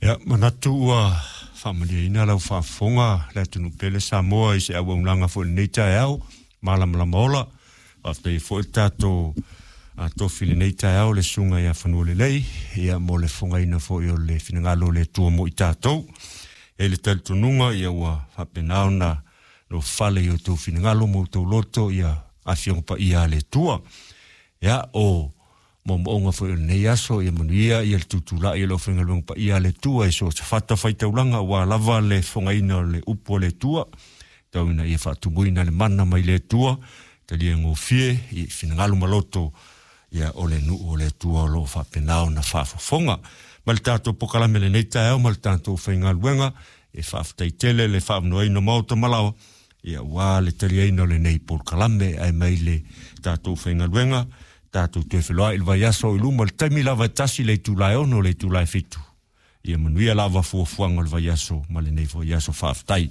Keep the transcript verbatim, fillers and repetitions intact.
Ia, manatu ua faamalieina lau faafofoga le atunuu pele Samoa i se auaunaga foi i lenei taeao malamalama ola. Faafetai foi le tatou tofi i lenei taeao le susuga ia Fanualelei, ia mo le fofogaina foi o le finagalo o le Atua mo i tatou. E le talitonuga ia ua faapena ona nofale i o outou finagalo ma outou loto ia afioga paia a le Atua. Ia, o moomooga foi o lenei aso, ia manuia ia le tutulai o le aufaigaluega paia a le Atua i so o se fatafaitaulaga aua lava le fofogaina o le upu a le Atua, tau ina ia faatumuina le mana mai le Atua, talia gofie i finagalo ma loto ia o le nuu o le Atua o lo o faapena ona faafofoga. Ma le tatou pokalame lenei taeao ma le tatou faigaluega, e faafetai tele le faavanoaina o maota ma laoa, ia ua le taliaina o lenei polokalame ae mai le tatou faigaluega, tatou toe feloai i le vaiaso i luma le taimi lava e tasi le itula e ono le itula e fitu. Ia manuia lava fuafuaga o le vaiaso ma lenei foi aso. Faafetai.